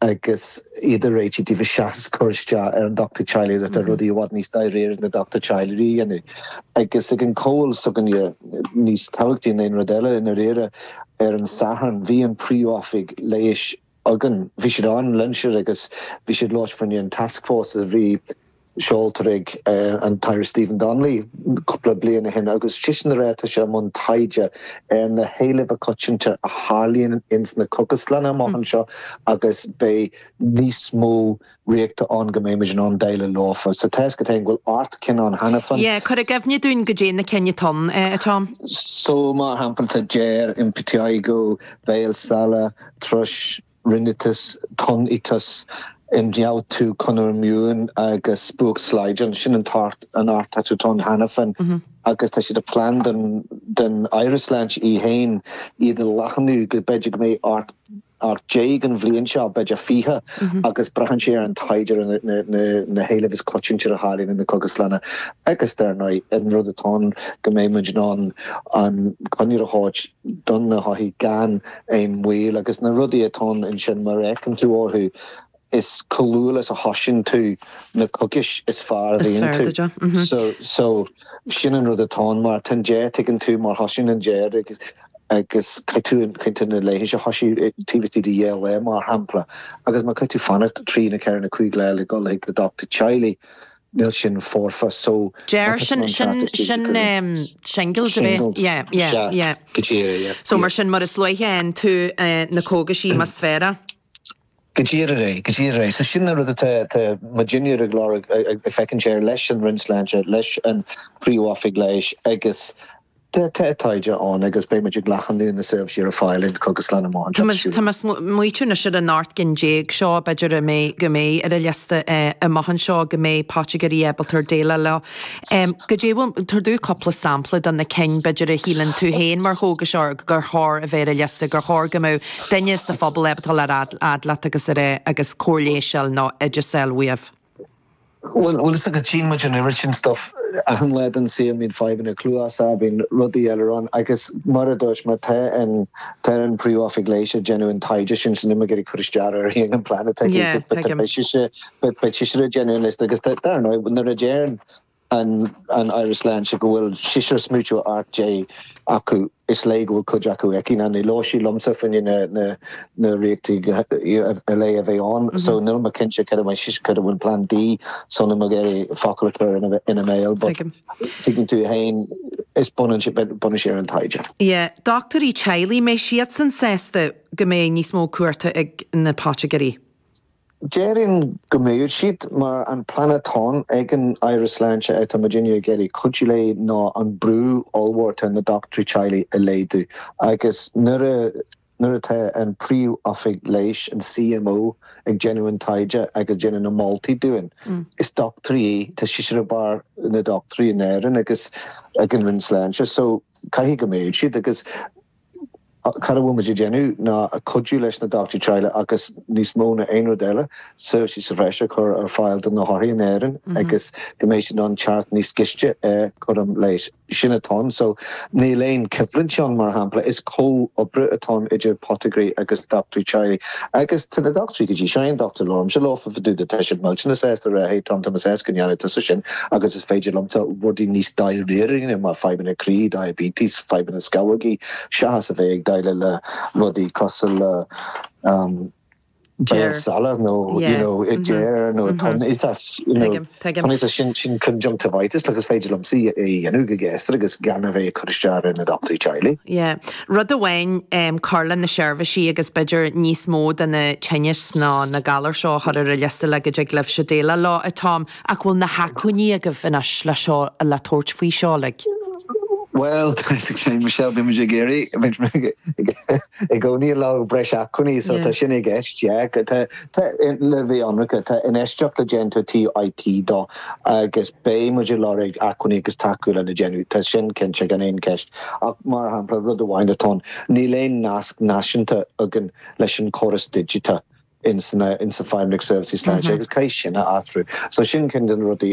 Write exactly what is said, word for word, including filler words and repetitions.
Agus iad a réiteach daofa seachas cur isteach ar an dochtúir teaghlaigh, tá rudaí i bhfad níos dáiríre na dochtúir teaghlaigh a dhéanamh. Agus ag an comhdháil s'againne, níos tábhachtaí ná aon rud eile i ndáiríre, ar an Satharn, bhí an príomhoifig leighis againn, bhí siad ann linn agus bhí siad labhairt faoin an taskforce a bhí seolta ag an tAire Stephen Donnelly cúpla bliain ó shin, agus sin a rá sé mbun taighde ar na héilimh choitianta a tharlaíonn ins na cógaslanna amach anseo agus beidh níos mó riochta ann go mbeimid in ann déileáil leofa. So tá go bhfuil ocht gcinn ann cheana féin. Yeah, cuir i gcuimhne dúinn goidé na cinn atá ann, a Tom. So mar shampla, tá deoir, impetigo, béal salach, thrush, rinitis, tonn-aiteas, ionfhabhtú conair imún agus spuaic slaghdán. Sin an t-ocht an ocht atá ann cheana féin mm -hmm. agus tá siad a plean den den Aire Sláinte í féin iad a leathnú go b'fhéidir go mbeidh ocht ocht déag an bhliain seo, b'fhéidir fiche mm -hmm. agus braitheann sé ar an taighde na, na, na, na héilimh is coitianta a tharlaíonn na cógaslanna. Agus dar ndóigh an rud atá go mbeidh muid in ann an coinne a thabhairt don na hothair gan aon mhoill agus na rudaí atá ansin mar fheiceann tú orthu, is chomh luath is a thosaíonn tú na cógais is fearr a bhíonn tú. So so sin an rud atá mar tan dé tuigeann tú mar thosaíonn an deoir agus agus caithfidh tú na leigheas a thosú taobh istigh de dhá lá, mar shampla, agus má caithfidh tú fanacht trí nó ceithre nó cúig lá le dul chuig na dochtúir teaghlaigh, níl sin foirfe. So Deoir, sin sin sin shingles. Yeah yeah yeah. Go díreach. So mar sin, mar is luaithe tú na cógaisí is fearr. Go díreach é, go díreach é. So sin na rud atá muidinne ag lorg ag féachaint sé leis an Roinn Sláinte, leis an príomhoifig leighis, agus tá taighde ann agus beimid ag leathnú na seirbhísí ar fáil in cógaslanna amach. Tá muid anois ar an ocht gcinn déag seo, b'fhéidir mé go mbeidh ar an liosta amach anseo go mbeidh apotéiceoirí ábalta déileáil leo. Goidé tabhair dúinn cúpla sampla de na cinn b'fhéidir a shíleann tú féin mar chógaiseoir gur chóir a bheith ar an liosta, gur chóir go mbeadh duine sa phobal ábalta le fhad leat agus ar agus cóir leighis nó oideas uaibh. Well well is go tchíonn muid an oiread sin stuff achan lá den saol. Bíonn fadhbanna cluasa, bíonn rudaí eile ann, agus mar a dúirt mé, tá an tá an príomhoifig leighis ag déanamh an taighde sin, sin ag cur isteach ar an plean atá déanamh list agus dar nuair a déan an an Aire Sláinte go bhfuil sise smaoineamh ocht déag acu, is léir go bhfuil cuid acu aici ná ní labhair sí liomsa faoi na na na riochtaí a le a bheith ann, so níl mé cinnte cad a si cad bhfuil plan D, so níl mé ag iarraidh focal a chur ina ina mbéal, but tuigeann tú féin, is bunann bunann sé ar an taighde. Yeah, dochtúirí teaghlaigh, mbeidh siadsan sásta go mbeidh níos mó cuairte ag na apotéiceoirí? Déarfainn go mbeidh siad, mar an plean atá ag an Aire Sláinte atá muidinne ag iarraidh cuidiú léi ná an brú ollmhór ar na dochtúirí teaghlaigh a laghdú, agus nuair a nuair atá an príomhoifig leighis, an C M O, ag déanamh an taighde agus déanamh na moltaí dúinn, is dochtúirí í, tá sí ar barr na dochtúirí in Éirinn agus ag an Roinn Sláinte, so caithfidh go mbeidh siad. Agus cad a bhfuil muid ag déanamh ná a cuidiú leis na dochtúirí teaghlaigh agus níos mó ná aon rud eile seirbhísí sa bhreis a chur ar fáil do na hothair in Éirinn agus go mbeidh siad an teacht níos gaiste ar chúram leighis. Sin atá, so níl aon choimhlint ann, mar shampla, is comhoibriú atá idir apotéiceoirí agus dochtúirí teaghlaigh, agus tá na dochtúirí go dtí seo, aon dochtúir labhraímse leo fá dtaobh, tá siad millteanach sásta rá, "Hey Tom, tá mé sásta go ndéanfaidh tusa sin agus is féidir liomsa rudaí níos dáiríre mar fadhbanna croí, diabetes, fadhbanna scamhógaí, seachas a bheith ag déileáil le rudaí cosúil le um, salach nó you know i deoir nó tonn-aiteas sin sin conjunctivitis agus féidir liomsa é dhéanamh go gasta agus gan a bheith chur isteach ar na dochtúirí teaghlaigh." Yeah. Rud amháin um, cur le na seirbhísí agus b'fhéidir níos mó de na tinnis ná na galair seo chur ar an liosta le go dtig libhse déileáil leo, a Tom, ach bhfuil na hacmhainní agaibh anois le seo le tabhairt faoi seo like? Well, Michelle, bhí ag iarraidh i gcónaí le breis acmhainní, so tá sin i gceist le bhí anracha, tá infheistíocht le déanamh ó I T dó agus beidh muid ag lorg acmhainní agus tacú lena déanamh, tá sin cinnte, gan aon cheist. Ach mar shampla, rud amháin atá, níl aon nasc náisiúnta againn leis an chóras digiteach in in sa Feidhmeannacht Seirbhísí Sláinte agus caithfidh sin a athrú. So sin ceann de na rudaí.